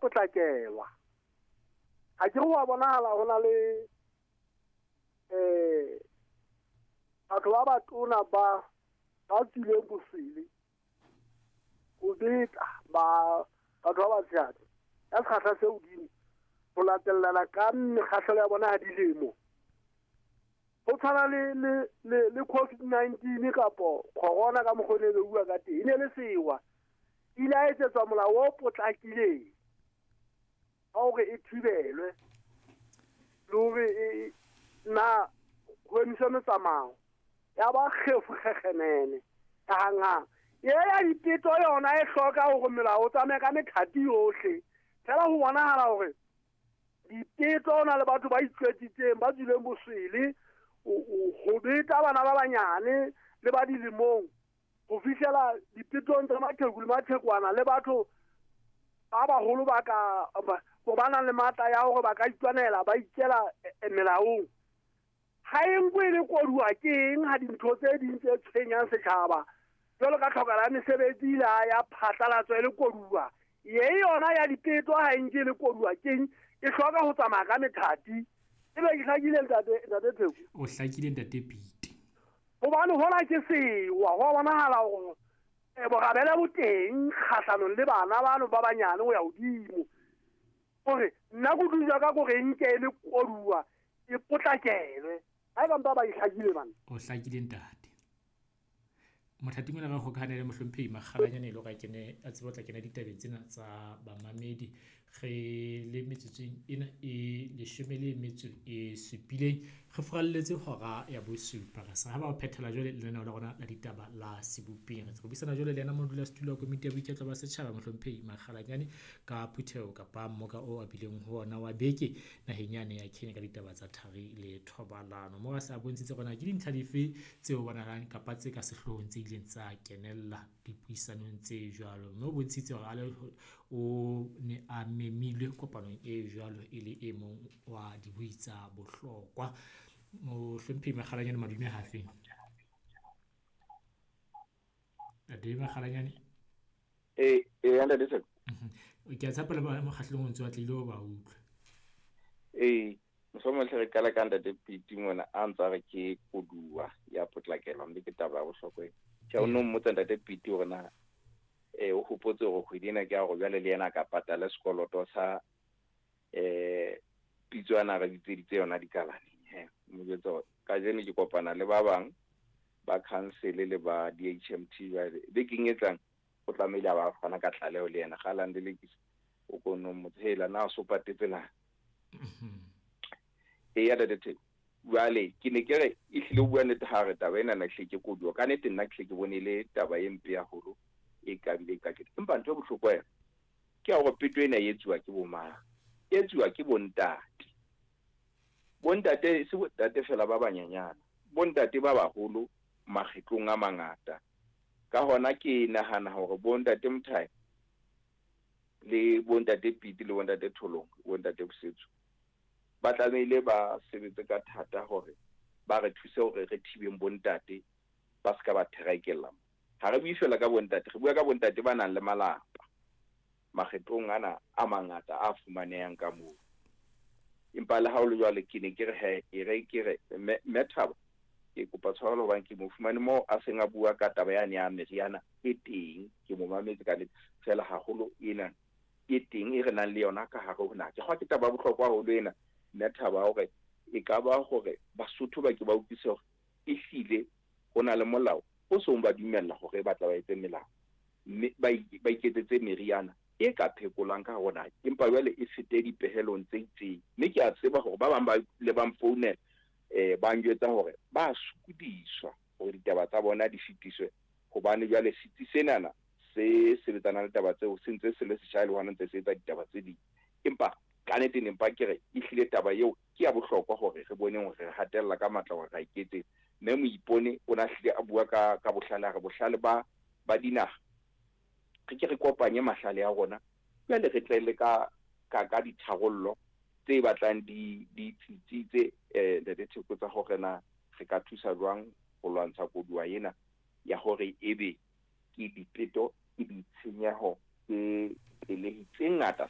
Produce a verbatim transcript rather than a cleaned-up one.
potlakelwa. Ha ke re wa bonahala ho na le eh batho ba batona ba ba tswileng bosele ho beta ba batho ba batshehadi ya sekgahla se hodimo ho latellana ka mekgahlelo ya bona ya dilemo. Ho tshwana le le le le COVID nineteen kapo corona ka mokgwa o ne bua ka teng, e ne le sewa. Ile a etsetswa molao o potlakileng wa hore e thibelwe le hore e na ho emiswe metsamao ya ba kgefu kgekgenene ya hanghang. E ya dipeto yona e hloka hore melao o tsamaye ka methati yohle. Fela ho bonahala hore dipeto ho na le batho ba itswetsitseng ba tswileng boswele ho beta bana ba banyane le ba dilemong ho fihlela dipetong tsa maqheku le maqhekwana le batho ba baholo ba ka ho ba nang le matla ya hore ba ka itwanela ba ikela melaong. Ha e nkwe e le koduwa ke eng ha dintho tse ding tse tshwenyang setjhaba jwalo ka tlhokala ya mesebetsi la ya phatlalatso e le koduwa, ye yona ya dipeto ha e nke e le koduwa ke eng e hloka ho tsamaya ka methati. Ebe ke hlakile ntate ntate Theko? O hlakile ntate Pete. Hobane hona ke sewa ho bonahala hore borabele bo teng kgahlanong le bana bano ba banyane ho ya hodimo. Hore nna kutlwisiso ya ka ke hore e nke e le koduwa e potlakelwe. Ha eba mpa ba e hlakile bana. O hlakile ntate. Mothating ona re hokahane le mohlomphehi Makgalanyane e le hore a kene a tsebe ho tla kena ditabeng tsena tsa bamamedi. Re le metsotsong ena e leshome le metso e supileng re furalletse hora ya bosupa. Re sa ba ho phethela jwale lenaneo la rona la ditaba la sebopeng. Re buisana jwale le yena modulasetulo wa komiti ya boiketlo ba setjhaba mohlomphehi Makgalanyane ka phutheho kapa mmoka o a bileng ho ona wa beke naheng yane ya Kenya ka ditaba tsa thari le thobalano. Moo a se a bontshitse hore na ke dintlha dife tseo bonahalang kapa tse ka sehloohong tse ileng tsa kenella dipuisanong tse jwalo. Mme o bontshitse hore a le o ne a memilwe kopanong e jwalo e le e mong wa dibui tsa bohlokwa. Mohlomphehi Makgalanyane madume hafe? Ntate Makgalanyane? Eh, eh, ntate Theko. Ke a tshepa le ba mokgahlelong o ntse o tlile ho ba utlwa. Eh, mohlomong hle re qala ka ntate Pete mona a ntsa re ke koduwa ya potlakelwa mme ke taba ya bohlokwa ena. Tjhe, o no mmotsa ntate Pete hore na eh o hopotse hore kgwedi ena ke ya hore jwale le yena a ka patala sekoloto sa eh pitso ana re bitseditse yona dikalaneng. He, mo jwetsa hore kajeno ke kopana le ba bang ba council le ba D H M T jwale bekeng e tlang o tlamehile a ba fana ka tlaleho le yena kgalang le lekisa o ko no mmotse hela na o so patetse na. E ya ntate Theko. Jwale ke ne ke re ehlile o bua nnete ha re taba ena na hle ke koduwa. Ka nnete nna ke hle ke bone e le taba e mpe haholo e ka bile ka ke. Empa ntho e bohlokwa yona ke ya hore peto ena e etsuwa ke bo mang? E etsuwa ke bontate. Bontate se bontate fela ba banyenyana, bontate ba baholo makgetlong a mangata. Ka hona ke nahana hore bontate Mthai le bontate Pete le bontate Tholong, bontate Bosetso ba tlamehile ba sebetse ka thata hore ba re thuse hore re thibeng bontate ba ska ba therekella. Ha re bue fela ka bontate, re bua ka bontate ba nang le malapa makgetlong ana a mangata a fumanehang ka moo. Empa le ha ho le jwalo ke ne ke re he, e re ke re mme Thabo ke kopa tshwarelo hobane ke mo fumane moo a seng a bua ka taba yane ya meriana e teng, ke mo mametse ka nnete fela haholo ena e teng e re nang le yona ka hare ho naha. Ke kgwa ke taba ya bohlokwa haholo ena mme Thabo hore e ka ba hore Basotho ba ke ba utlwise hore ehlile ho na le molao o song ba dumella hore ba tla ba etse melao mme ba ba iketsetse meriana e ka phekolang ka hona, empa jwale e fete dipehelong tse itseng. Mme ke a tseba hore ba bang ba le ba mfounela eh ba njwetsa hore ba sokodiswa hore ditaba tsa bona di fetiswe hobane jwale setsi senana se sebetsana le taba tseo se ntse se le setjha le hona ntse se etsa ditaba tse ding. Empa ka nnete ne mpa ke re ehlile taba eo ke ya bohlokwa hore re bone hore re hatella ka matla hore ra iketse. Mme Moipone o na hlile a bua ka ka bohlale, a re bohlale ba ba dinaha re ke re kopanye mahlale a rona jwale re tle le ka ka ka ditharollo tse batlang di di tsitsitse eh ntate Theko tsa hore na re ka thusa jwang ho lwantsha koduwa ena ya hore ebe ke dipeto ke ditshenyeho ke pelehi tse ngata